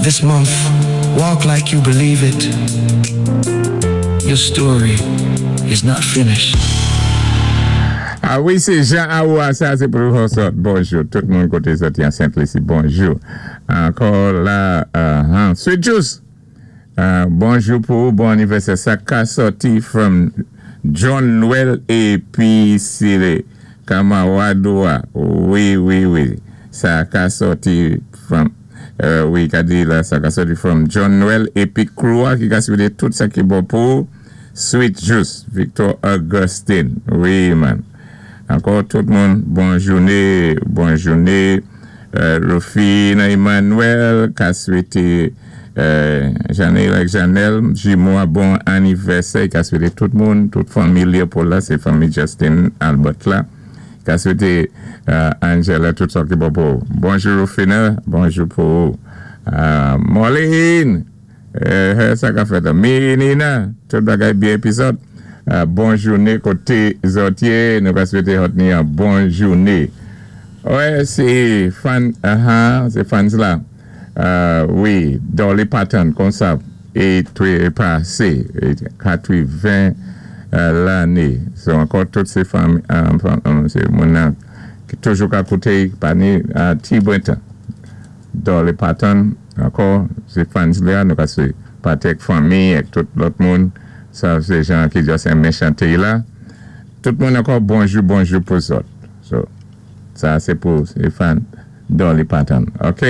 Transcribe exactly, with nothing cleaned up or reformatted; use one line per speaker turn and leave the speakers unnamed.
This month, walk like you believe it. Your story is not finished.
Ah wi, sé Jean Aoua, sa sé pou zòt. Bonjou, tout moun koté zòt an Sent-Lisi, bonjou. Ankò la, uh, Sweet Juice. Uh, bonjou pou bon anivèsè. Sa ka sòti from John Noel épi sé Kamawadoua. Wi, wi, wi. Sa ka sòti from, euh, wi, ka di la, sa ka sòti from John Noel épi Kloua ki ka swété tout sa ki bon pou Sweet Juice, Victor Augustine. Wi, man. Ankò tout moun, bon jouné, bon jouné. Euh, Rufina Emmanuel, ka swété euh, Janelle ak Janelle, jimo bon anivèsè, ka swété tout moun, tout fanmi pou la, sé fanmi Justin Albert la. Ka swété euh, Angela tout sa ki bon pou. Bonjou Rufina, bonjou pou euh, Moline, euh, sa ka fèt, Menina, tout bagay byen épi zòt. Euh, bon jouné koté zòt yé, nou ka swété hot ni yon bon jouné. Wè, sé fan, uh sé fans la. Euh, wi, Dolly Parton, konsa, é twé pasé, katwen euh, lanné. So, ankò tout sé fanmi, euh, sé moun ki toujou ka kouté, pa ni ti bwenta. Dolly Parton, ankò, sé fans la, nou ka sé patek fanmi ak tout lòt moun. Sa, sé jan ki just renmen chanté la. Tout moun ankò, bonjou, bonjou pou zòt. So, sa, sé pou sé fan Dolly Parton. OK?